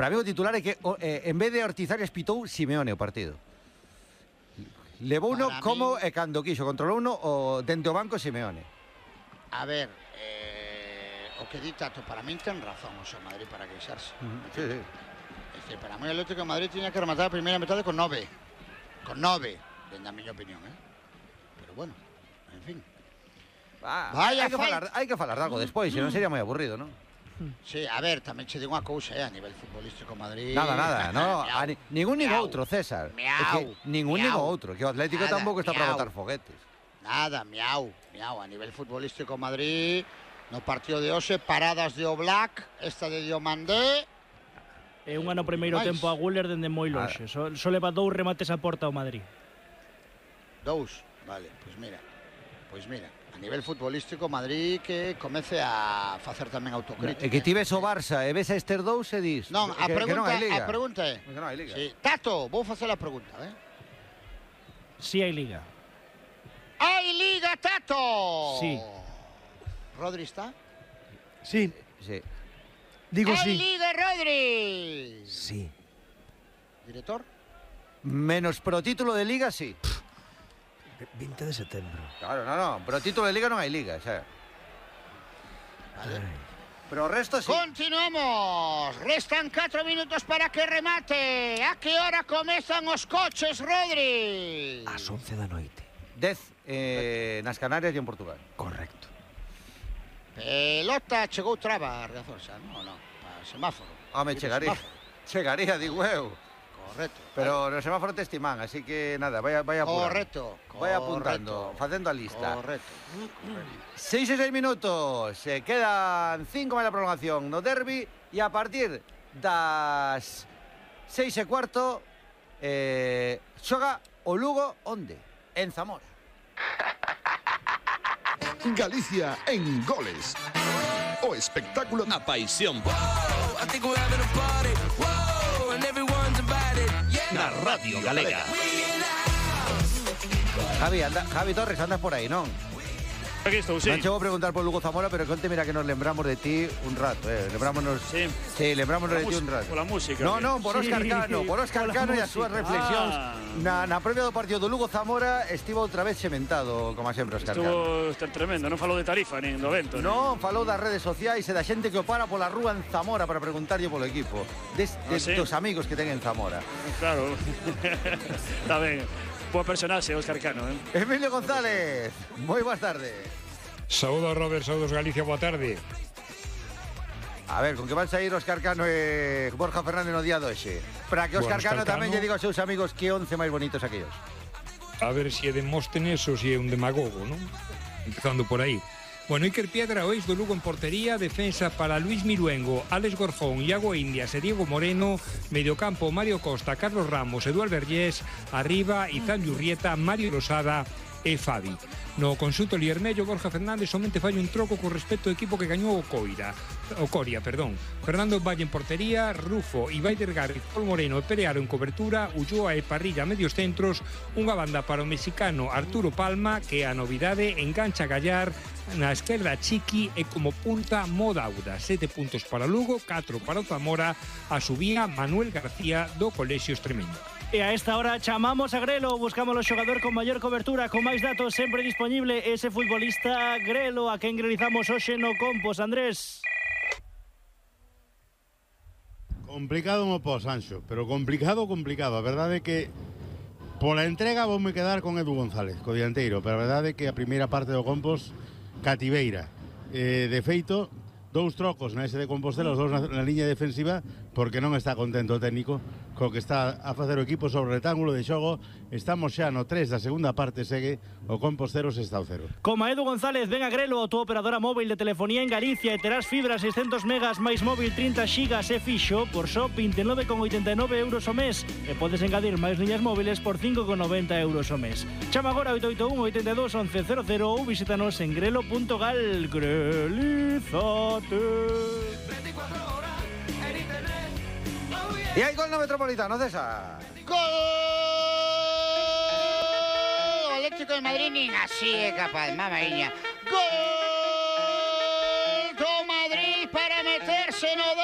para mí o titular é que en vez de Ortiz Arias pitou Simeone o partido. Levou uno como e cando quixo, controlou uno o dente o banco Simeone. A ver, o que di Tato, para min ten razón o Madrid para queixarse. Sí, sí. Es decir, para mí el Atlético de Madrid tiña que rematar a primeira metade con 9. Con 9, dende a miña opinión, Pero bueno, en fin. Vaya, hai que falar de algo despois, senón sería moi aburrido, non? Sí, a ver, tamén che digo unha cousa, a nivel futbolístico Madrid. Nada, no, ningún nin outro, César. Ningún nin outro, que o Atlético tampouco está para botar foguetes. Nada, miau. A nivel futbolístico Madrid, no partido de hoxe, paradas de Oblak, esta de Diomandé. É un ano primeiro tempo a Güler dende moi lonxe. Só leva 2 remates a porta ao Madrid. 2, vale, pois mira. A nivel futbolístico, Madrid que comece a facer tamén autocrítica. E que ti ves o Barça e ves a estes dous e dis... Non, a pregunta é... Que non hai liga. Sí. Tato, vou facer a pregunta, Si hai liga. Hai liga, Tato! Sí. Rodri está? Sí. Digo sí. Hai liga, Rodri! Sí. Director? Menos pro título de liga, sí. 20 de setembro. Claro, no, pero título de liga non hai liga, xa. Vale. Pero o resto sí. Continuamos. Restan 4 minutos para que remate. A que hora comezan os coches, Rodri? Ás 11 da noite. 10 nas Canarias e en Portugal. Correcto. Pelota, chegou traba, Riazor, xa, non, para semáforo. Home, chegaría, digo eu. Correcto. Pero no semáforo te estiman, así que nada, vaya apurando. Correcto. Vaya apuntando, facendo a lista. Correcto. 6 e 6 minutos, se quedan 5 máis a prolongación no derbi e a partir das 6 e cuarto xoga o Lugo onde? En Zamora. Galicia en goles. O espectáculo na paixón. Na Radio Galega. Javi Torres, andas por aí, non? Aquí estou, sí. Non chego a preguntar por Lugo Zamora, pero conte, mira que nos lembramos de ti un rato, Lembrámonos de ti un rato. Pola música. No, por Óscar Cano e as súas reflexións. Na previa do partido do Lugo Zamora estivo outra vez sementado, como sempre, Óscar Cano. Estuvo tremendo, non falou de Tarifa nin do vento. Non, falou das redes sociais e da xente que o para pola rúa en Zamora para preguntarlle polo equipo. Dos amigos que ten en Zamora. Claro. Está ben. Boa personaxe, Óscar Cano, Emilio González, moi boas tardes. Saúdos, Robert, saúdos, Galicia, boa tarde. A ver, con que van sair Óscar Cano e Borja Fernández no día doxe? Para que Óscar Cano tamén lle diga aos seus amigos que 11 máis bonitos aquellos. A ver se é Demóstenes ou se é un demagogo, non? Empezando por aí. Bueno, Iker Piedra, o ex do Lugo en portería, defensa para Luis Miruengo, Alex Gorjón, Iago Indias e Diego Moreno, mediocampo Mario Costa, Carlos Ramos, Eduard Vergés, arriba Izan Yurrieta, Mario Rosada e Fabi. No conxunto liermello, Borja Fernández somente fai un troco con respecto ao equipo que gañou o Coria. Fernando Valle en portería, Rufo, Ibai Delgado, Paul Moreno e Perearo en cobertura, Ulloa e Parrilla a medios centros, unha banda para o mexicano Arturo Palma, que é a novidade, engancha Gallar, na esquerda Chiqui e como punta Modauda. 7 puntos para Lugo, 4 para o Zamora, a subía Manuel García do Colexio Extremeño. E a esta hora chamamos a Grelo, buscamos o xogador con maior cobertura, con máis datos sempre disponible, ese futbolista Grelo, a quen granizamos hoxe no Compos, Andrés. Complicado mo pos, Anxo, pero complicado. A verdade é que pola entrega vou me quedar con Edu González, co dianteiro, pero a verdade é que a primeira parte do Compos cativeira. De feito, 2 trocos na ese de Compostela, os 2 na liña defensiva, porque non está contento o técnico co que está a facer o equipo sobre o rectángulo de xogo. Estamos xa no 3 da segunda parte, segue o Compos 0, Sestao 0. Como Edu González, ven a Grelo, a túa operadora móvil de telefonía en Galicia, e terás fibra 600 megas máis móvil 30 xigas e fixo por só 29,89 euros o mes, e podes engadir máis liñas móviles por 5,90 euros o mes. Chama agora 881 82 11 00 ou visítanos en grelo.gal. Grelízate. E hai gol no Metropolitano, César. Gol! O Atlético de Madrid nin así é capaz, mamaíña. Gol do Madrid para meterse no